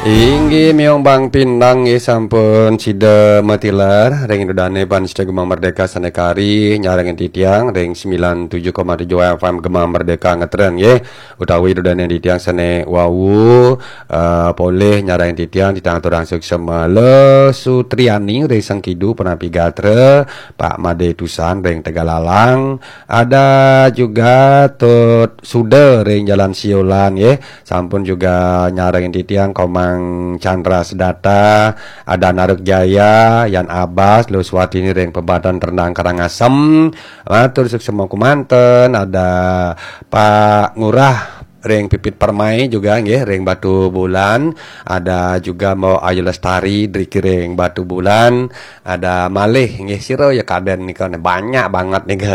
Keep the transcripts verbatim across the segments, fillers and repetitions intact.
Inggih miong Bang Pinang nggih sampun sida matilar ring ida dane pan sida Gema Merdeka sane kari nyarengin titiang ring sembilan tujuh koma tujuh F M Gema Merdeka ngetren nggih utawi ida dane titiang sane wau eh, polih nyarengin titiang titiang aturang suksma Le Sutriani ring Sengkidu Penapi Gatra Pak Made Tusan ring Tegalalang ada juga Tut Suda ring Jalan Siolan nggih sampun juga nyarengin titiang Komang Chandra Sedata, ada Naruk Jaya, Yan Abbas, Luswatini ring Pebatan Rendang Karangasem, matur suksma kumanten, ada Pak Ngurah ring Pipit Permai juga nggih ring Batu Bulan, ada juga Mbok Ayu Lestari driki ring Batu Bulan, ada malih nggih sira ya kaden nika banyak banget nika.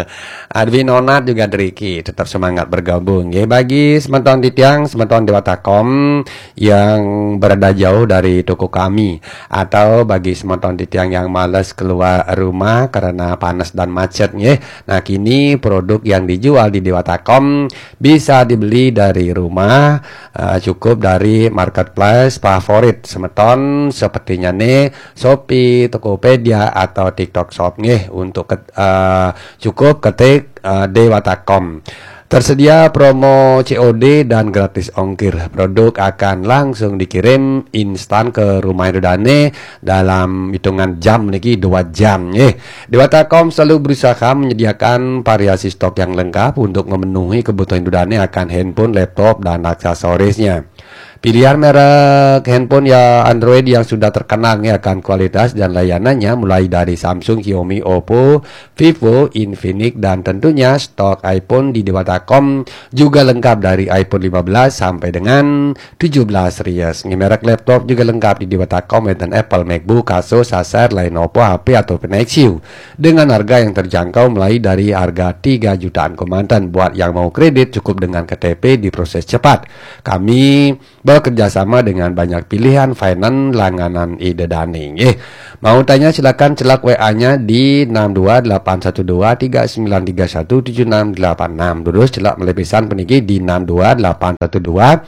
Adwi Nonat juga driki tetap semangat bergabung nggih bagi semeton titiang semeton Dewata Kom yang berada jauh dari toko kami atau bagi semeton titiang yang males keluar rumah karena panas dan macet nggih. Nah, kini produk yang dijual di Dewata Kom bisa dibeli dari rumah eh, cukup dari marketplace favorit semeton sepertinya nih Shopee, Tokopedia atau TikTok Shop nggih untuk ket- eh, cukup ketik eh, Dewata Kom. Tersedia promo C O D dan gratis ongkir. Produk akan langsung dikirim instan ke rumah Dane dalam hitungan jam niki dua jam nggih. Dewata Kom selalu berusaha menyediakan variasi stok yang lengkap untuk memenuhi kebutuhan Dane akan handphone, laptop, dan aksesorisnya. Pilihan merek handphone ya Android yang sudah terkenal nih akan kualitas dan layanannya mulai dari Samsung, Xiaomi, Oppo, Vivo, Infinix dan tentunya stok iPhone di Dewata Kom juga lengkap dari iPhone lima belas sampai dengan tujuh belas series. Nggih merek laptop juga lengkap di Dewata Kom wenten Apple, MacBook, Asus, Acer, Lenovo, H P ataupun Nexus dengan harga yang terjangkau mulai dari harga tiga jutaan kemanten. Buat yang mau kredit cukup dengan K T P diproses cepat. Kami bekerja sama dengan banyak pilihan finance langganan Ida Dane nggih. Mau tanya silakan celak W A-nya di enam dua delapan satu dua tiga sembilan tiga satu tujuh enam delapan enam. Terus celak melebisan peniki di enam dua delapan satu dua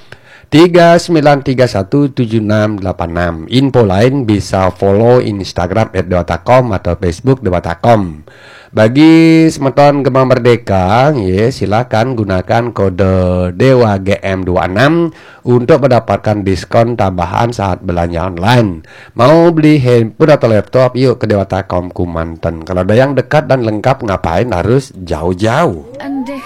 tiga sembilan tiga satu tujuh enam delapan enam. Info lain bisa follow Instagram at dewata com atau Facebook Dewata Com. Bagi semeton Gema Merdeka, ya, silakan gunakan kode Dewa G M dua enam untuk mendapatkan diskon tambahan saat belanja online. Mau beli handphone atau laptop, yuk ke Dewata Com Kumanten. Kalau ada yang dekat dan lengkap, ngapain harus jauh-jauh? Endeh